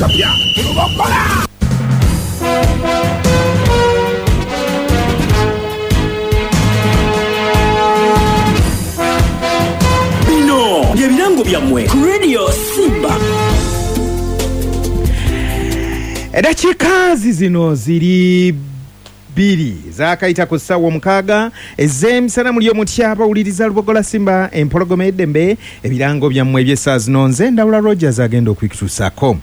Kapya ku Lubogola. Bino bye birango byammwe ku Radio Simba. Eddakiika zizino ziri bbiri zaakayita ku ssaawa omukaaga ez'emisana. Muli omutya abawuliriza Lubogola Simba empologoma y'eddembe? Ebirango byammwe eby'essaawa zino nze Ndawula Rogers agenda okubikutuusaako.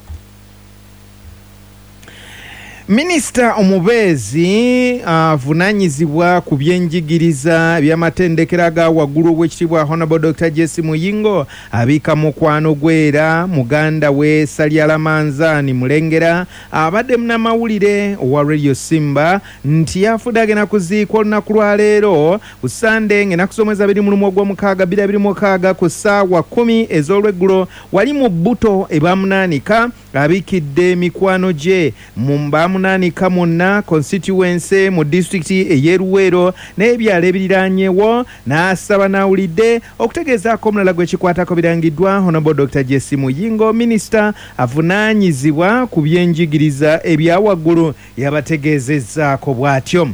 Minisita omubeezi avunaanyizibwa ku byenjigiriza eby'amatendekero aga waggulu Owekitiibwa Honourable Dokita Jesse Muyingo abiika mukwano gwe era muganda we Salyala Manzaani Mulengera abadde munamawulire owa Radio Simba nti yafudde agenda kuziikwa olunaku lwa leero ku Ssande ng'ennaku z'omwezi 21 Ogwomukaaga 2026 ku ssaawa 10 ez'olweggulo wali mu Bbuto e Bamunaanika. Abikidde mikwano gye mu Bamunaanika mwonna constituency mu disitulikiti ey'e Luweero n'ebyalo ebiriraanyewo n'asaba n'awulidde okutegeezaako omulala gwe kikwatako. Birangiddwa Honourable Dokita Jesse Muyingo, minisita avunaanyizibwa ku byenjigiriza ebya waggulu yabategeezezzaako bw'atyo.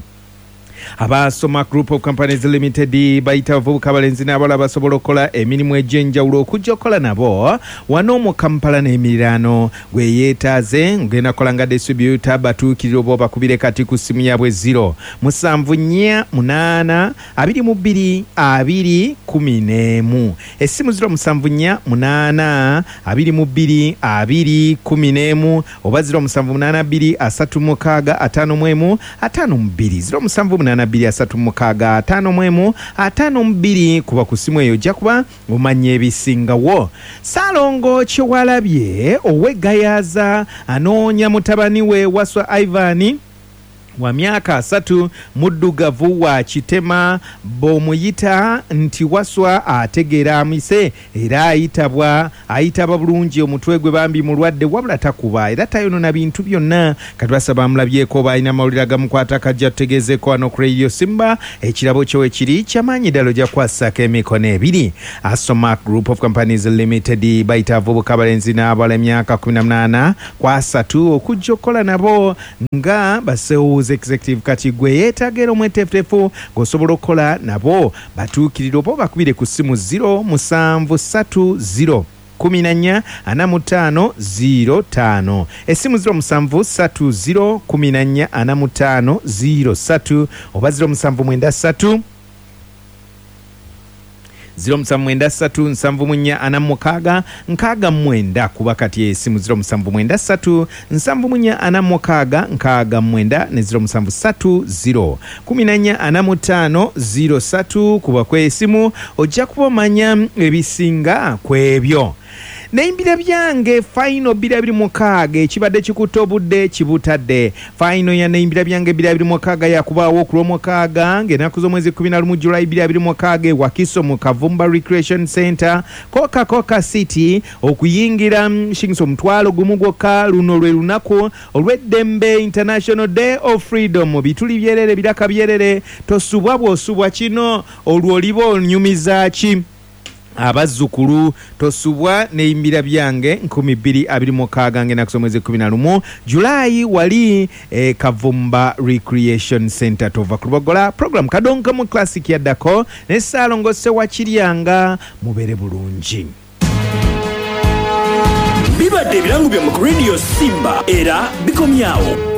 Aba Soma Group of Companies Limited bayita abavubuka abalenzi n'abawala abasobola okukola emirimu egy'enjawulo okujja okukola nabo wano mu Kampala n'emiriraano. Gwe yeetaaze ng'ogenda kukola nga distributor, batuukirire oba obakubire kati ku ssimu yaabwe 0 7 4 8 22 20 11. Essimu 0 7 4 8 22 20 11 oba 0 7 8 2 3 6 51 52, 0 7 8 2 3 6 51 52. Kuba ku ssimu eyo ojja kuba omanya ebisingawo. Ssaalongo Kyewalabye ow'e Gayaza anoonya mutabani we Wasswa Ivan wa myaka asatu, muddugavu wa kitema. Bw'omuyita nti Wasswa ategeera amise era ayitabwa ayitaba bulungi. Omutwe gwe bambi mulwadde wabula takuba era tayonona bintu byonna. Kati basaba amulabyeko oba alina amawulire agamukwatako ajje atutegeezeeko wano ku Radio Simba. Ekirabo kyo wekiri kyamaanyi ddala ojja kukwasisaako emikono ebiri. Asomac Group of Companies Limited bayita abavubuka abalenzi n'abawala emyaka 18 ku asatu okujja okukola nabo nga ba sales executive. Kati gwe eyeetaaga era omweteefuteefu ng'osobola okukola nabo, batuukirire oba obakubire ku ssimu 0 musanvu satu 0 14 45 0 5. Essimu 0 musanvu satu 0 14 45 0 3 oba 0 musanvu mwenda satu 0 musanvu mwenda satu nsanvu mu nnya ana mu mukaaga nkaaga mu mwenda. Kuba kati esimu 0 musanvu mwenda satu nsanvu mu nnya ana mu mukaaga nkaaga mu mwenda ne 0 musanvu satu 0 14 45 0 3. Kuba ku esimu ojja kuba omanya ebisinga ku ebyo. Neimbira byange final 2026 ekibadde kikutte obudde kibutadde. Final ya Neimbira byange 2026 yakubaagho ku Lwomukaaga ng'enaku z'omwezi 11 July 2026 e Wakiso mu Kavumba Recreation Centre, Coca Coca City okuyingira shillings 10,000 gwokka. Luno lwe lunaku olw'eddembe, International Day of Freedom. Bituli byerere, biraka byerere, tosubwa bw'osubwa kino olwo oliba onyumiza ki? Abazzukulu tosubwa neimbira byange 2026 ng'enaku z'omwezi 11 July wali e Kavumba Recreation Centre. Tova ku Lubogola program Kadonkamu Classic yaddako ne Ssaalongo Ssewakiryanga. Mubeere bulungi. Bibadde ebirango byammwe ku Radio Simba era bikomye agho.